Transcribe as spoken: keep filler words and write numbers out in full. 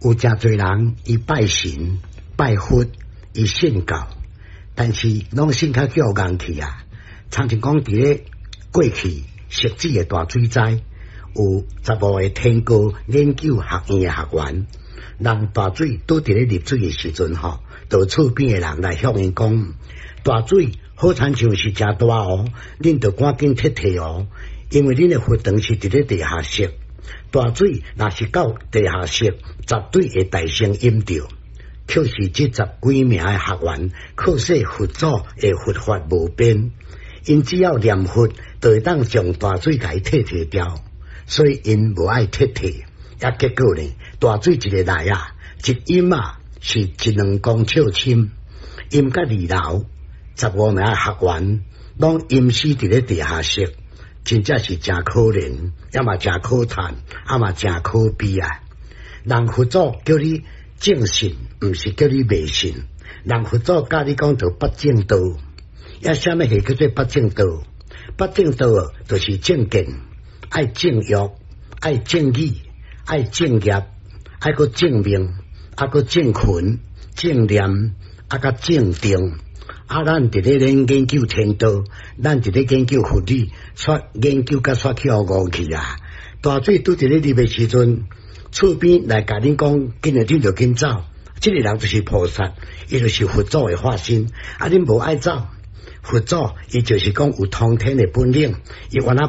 有誠濟人伊拜神拜佛，伊信教，但是攏信較叫戇去啊。親像講佇咧過去汐止的大水災，有十五个天高研究學院的學員，人大水拄佇咧入水的時陣吼，就厝邊的人來向𪜶講，大水好親像是誠大哦，恁著趕緊撤退哦，因為恁的佛堂是佇咧地下室，大水若是到地下室，絕對會大聲淹著。卻是這十幾名的學員，靠說佛祖的佛法無邊，𪜶只要念佛，就會當將大水共伊退退掉，所以𪜶無愛撤退。啊，結果呢，大水一个來啊，一淹啊，是一兩公尺深，淹到二樓，十五名學員攏淹死佇咧地下室，真正是誠可憐，也嘛誠可嘆，也嘛誠可悲啊！人佛祖叫你正信，毋是叫你迷信。人佛祖教你講著八正道，啊，啥物係叫做八正道？八正道就是正見，愛正欲，愛正語，愛正業，愛閣正命，啊閣正勤、正念，啊閣正定。啊，咱佇咧咧研究天道，咱佇咧研究佛理，煞研究甲煞去予誤去啊！大水拄佇咧入的時陣，厝邊來共恁講，緊來恁著緊走。這个人就是菩薩，伊就是佛祖的化身。啊，恁無愛走，佛祖伊就是講有通天的本領，伊原來。